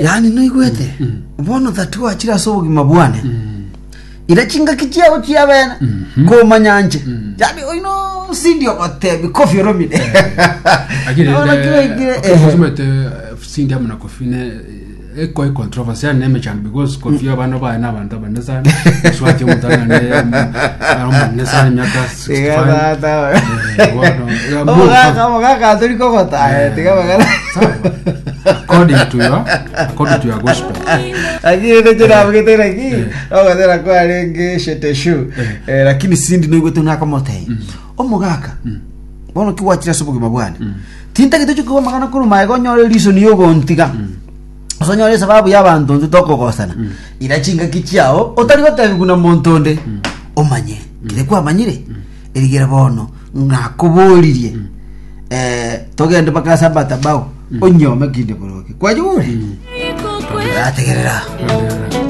Yaani noigwete bono that gwachire ase obogima bwane ira chingaki chiao chiabene komanya nche yaani oino Cindy ogotebi Koffi Olomide Lakini Bono rende, kibaikire, okay, ehe. osomete, Cindy amo na Koffi ne ekoi controversy yani nemechando because Koffi abana baye na abanto abanene sana oswati omotang'ani ari omonene sana emiaka Tiga 65 tata. Eh, bono, eh, Omogaka omogaka tori kogota eh, tiga magana Sawa. according to your according to your gospel lakini ndeche nabugete naki ogotera kwarenge sheteshu Eh, lakini sindi noigwete nakomotebia omogaka bono ki gwachire ase obogima bwane tintagete oche koigwa amang'ana korwa magega onyore reason yogontiga Ase onyore esababu y'abanto intwe tokogosana ira chingaki chiao otari gotebigwa na monto onde omanye kere kwamanyire erigere bono nakoboririe eh, togende mpaka ase amatabao onyome kinde boroke kwanyure ategerera.